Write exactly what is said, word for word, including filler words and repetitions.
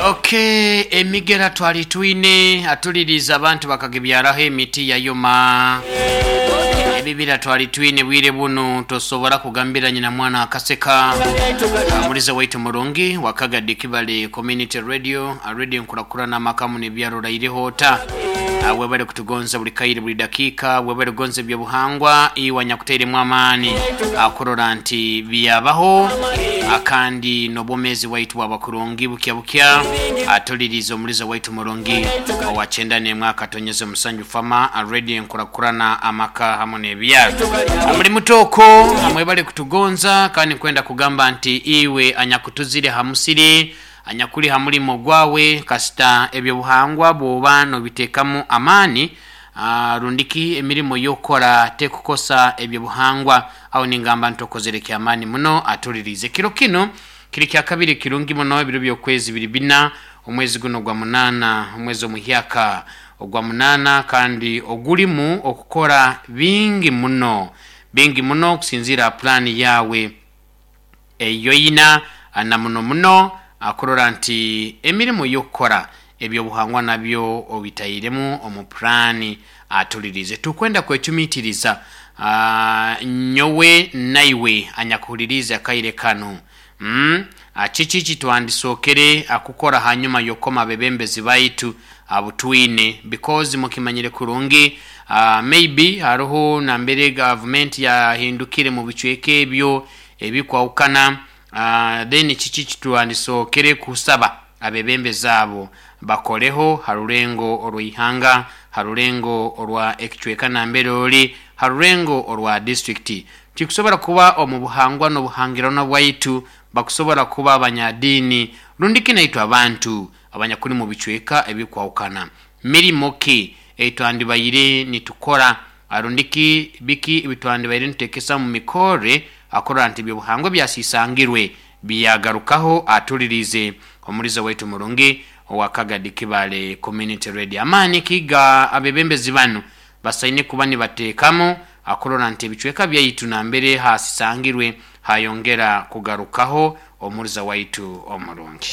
Okay, emigera twali twine atuliriza abantu bakagibyaraho emiti yayoma. Ebibira twali twine bwire buno tosobora kugambira nyina mwana akaseka. Muliza waitu murungi Wakaga Kibale Community Radio, radio nkurakurana amakamu nebyaro rairehota. Webale kutugonza buli kaire buli dakika, webale kugonza ebyobuhangwa iwa nyakuteiremu amaani akurora nti byabaho akandi n'obwomezi waitu bwabakurungi bukya bukya. Atuliriza omuliza waitu murungi owachenda nemwaka tonyeze musanju fama radio nkurakurana amaka hamwe n'ebyaro. Omuli mutoko amwebale kutugonza kandi kwenda kugamba nti iwe anyakutuzire hamusiri anyakuli hamulimo gwawe kasita ebyobuhangwa bwoba nobitekamu amani uh, rundiki emirimo yokora tekukosa ebyobuhangwa au ningamba ntokozere kyamani muno. Atulirize kiro kino kiri kya kabiri kirungi muno ebiro byokwezi biri bina omwezi guno gwa munana omwezi omuhyaka ogwa munana kandi ogulimu okukora bingi muno bingi muno kusinzira plani yawe eyoyina na muno muno akurora nti emirimu yokukora ebyobuhangwa nabyo obitayiremu omu plani. Atulirize tukwenda kwecumitiriza uh, nyowe naiwe anyakuhuliriza kaire kano mm? Kiki kitwandisokere akukora hanyuma yokoma bebembezi baitu abutwine because mukimanyire kurungi uh, maybe hariho nambere government yahindukire mu bicweke ebyo ebikwawukana. Uh, then kiki kitwandisokere kusaba abebembezi abo bakoleho harulengo orwihanga, harulengo orwa ekicweka nambere oli, harulengo orwa district. Tikusobora kuba omu buhangwa n'obuhangirano bwaitu bakusobora kuba abanyadini rundiki naitwe abantu abanyakuli mu bicweka ebikwawukana. Mirimo ki etwandibaire nitukora arundiki biki ebitwandibaire nitekesa mu mikore akora nti ebyobuhangwa byasisangirwe byagarukaho. Atulirize omuliza waitu murungi owakagadi Kibale Community Radio. Amani kiga abebembezi bano basaine kuba nibateekamu akurora nti ebicweka byaitu nambere hasisangirwe hayongera kugarukaho. Omuliza waitu omurungi.